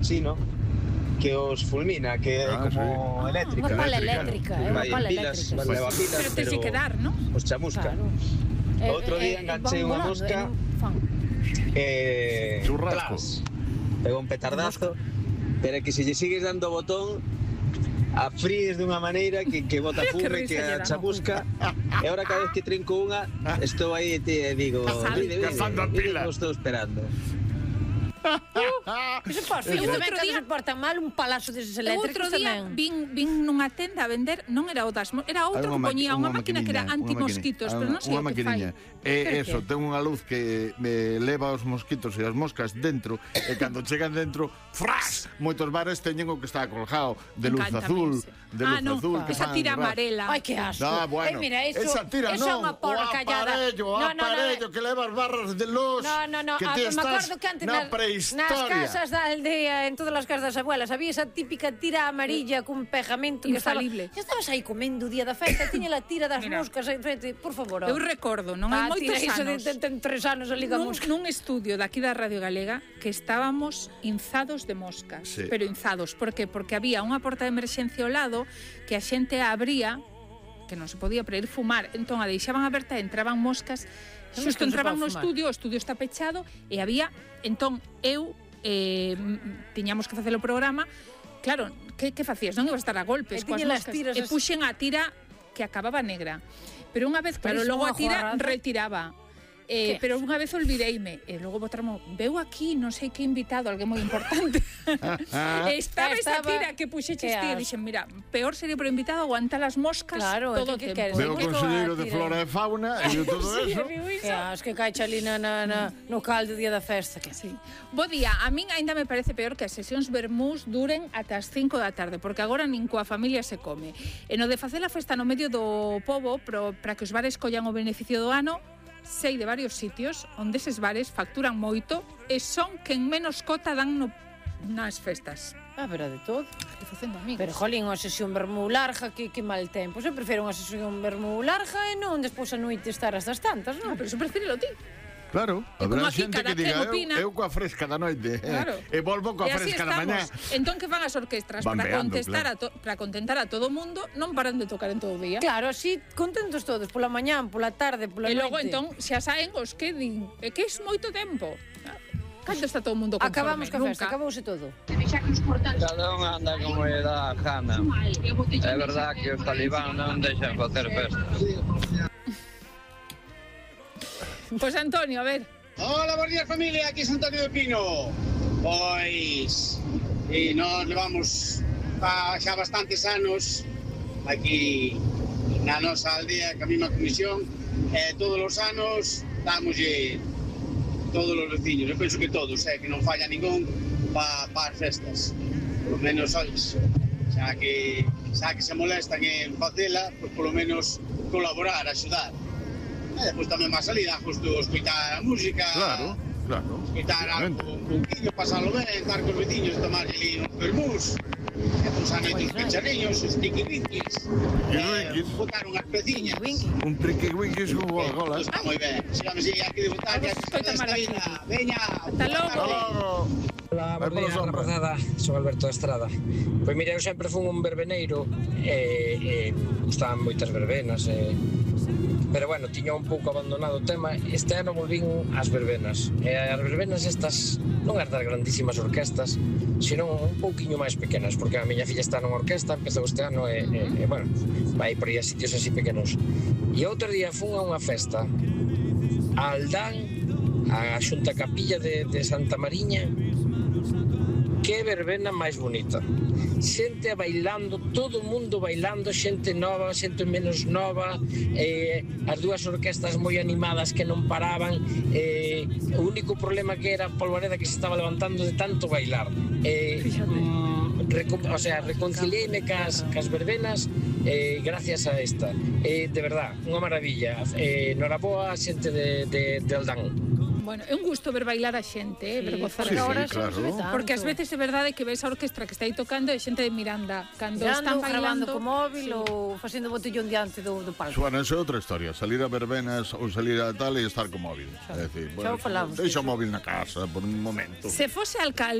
chino que os fulmina, que é como eléctrica. Unha pala eléctrica, é unha pala eléctrica. Leva pilas, Pero tens que dar, non? os chamusca. Outro día enganchei unha mosca Churrasco. Pegou un petardazo, pero que se lle sigues dando o botón a fríes dunha maneira que bota fume, que a chamusca. E ahora cada vez que trinco unha, estou aí e digo, vide, que estou esperando. Outro día se portan mal un palazo deses eléctricos tamén. Vin nunha tenda a vender, non era o das, era outro que poñía unha máquina que era antimosquitos, pero non sei o que fai. Eso, ten unha luz que leva os mosquitos e as moscas dentro, e cando chegan dentro, fras! Moitos bares teñen o que está colgado de luz azul, esa tira amarela. Ai, que asco. Mira, esa tira non, unha porra callada. O aparello que leva as barras de luz. Que ti estás na prehistoria. Nas casas da aldea, en todas as casas das abuelas, había esa típica tira amarilla cun pegamento que infalible. Estabas aí comendo o día da festa, tiña la tira das moscas en frente, por favor. Eu recordo, non hai moitos anos. Ten 3 anos a Liga Mosca. Nun estudio daqui da Radio Galega que estábamos inzados de moscas, pero inzados, por que? Porque había unha porta de emerxencia ao lado que a xente abría, que non se podía para ir fumar, entón a deixaban aberta e entraban moscas. Xusto entraban no estudio, o estudio está pechado e había, entón eu tiñamos que facer o programa, claro, que facías? Non ibas a estar a golpes coas moscas, e puxen a tira que acababa negra, pero unha vez, claro, logo a tira retiraba. Pero unha vez olvideime e logo botaron, veu aquí non sei que invitado, alguén moi importante. Estaba esa tira que puxeches ti e dixen, mira, peor sería por invitado aguantar as moscas todo o tempo. Veu o conselleiro de Flora e Fauna e todo eso. Que caixa ali no caldo día da festa. Bo día, a min ainda me parece peor que as sesións vermús duren ata as 5 da tarde, porque agora nin coa familia se come. E no de facer a festa no medio do pobo, para que os bares collan o beneficio do ano, sei de varios sitios onde eses bares facturan moito e son quen menos cota dan nas festas. Pero de todo. Pero, jolín, unha sesión vermú larga, que mal tempo. Eu prefiro unha sesión vermú larga e non despois a noite estar as das tantas, non? Pero iso prefiro ti. Claro, habrá xente que diga, eu coa fresca da noite e volvo coa fresca da mañá. Entón que fan as orquestras para contentar a todo o mundo, non paran de tocar en todo o día. Claro, así contentos todos, pola mañá, pola tarde, pola noite. E logo entón, xa saen os que din, é que é moito tempo. Cando está todo o mundo conforme? Acabamos ca festa, acabouse todo. Cada un anda como lle dá a gana. É verdad que os talibán non deixan facer festas. Pois Antonio, a ver. Hola, bons días familia, aquí es Antonio de Pino. Pois, e nos levamos xa bastantes anos aquí na nosa aldea, que a mesma comisión, todos os anos damoslle todos os veciños, eu penso que todos, que non falla ningún para as festas, por lo menos, xa que se molestan en facela, pois polo menos colaborar, axudar. E depois tamén má salida, justo escoitar a música, escoitar algo un pouquinho, pasalo ben, estar cos veciños, tomar ali uns vermús, e posar noites picharriños, os tiqui-winquis, botar unhas peciñas. Un triqui-winquis con Coca-Cola. Está moi ben, sigamos aquí de botar, que esta vida, veña, ata logo. Hola, bom día, rapazada, son Alberto Estrada. Pois mira, eu sempre fui un verbeneiro e gustaban moitas verbenas, pero bueno, tiña un pouco abandonado o tema. Este ano volvín ás verbenas. E as verbenas estas non as das grandísimas orquestas, sino un pouquiño máis pequenas, porque a miña filla está nunha orquesta, empezou este ano e bueno, vai por aí a sitios así pequenos. E outro día fun a unha festa a Aldán, a Xunta Capilla de Santa Mariña. Que verbena máis bonita. Xente bailando, todo o mundo bailando, xente nova, xente menos nova, as dúas orquestas moi animadas que non paraban, o único problema que era a polvareda que se estaba levantando de tanto bailar. Reconciliéime cas verbenas gracias a esta. De verdad, unha maravilla. Noraboa, xente de Aldán. Bueno, é un gusto ver bailar a xente, ver gozar horas, claro. Porque ás veces é verdade que ves a orquestra que está aí tocando e xente de Miranda, cando están bailando co móvil ou facendo botellón diante do palco. Bueno, esa é outra historia, salir a verbenas ou salir a tal e estar co móvil. É dicir, bueno, deixa o móvil na casa por un momento. Se fose alcalde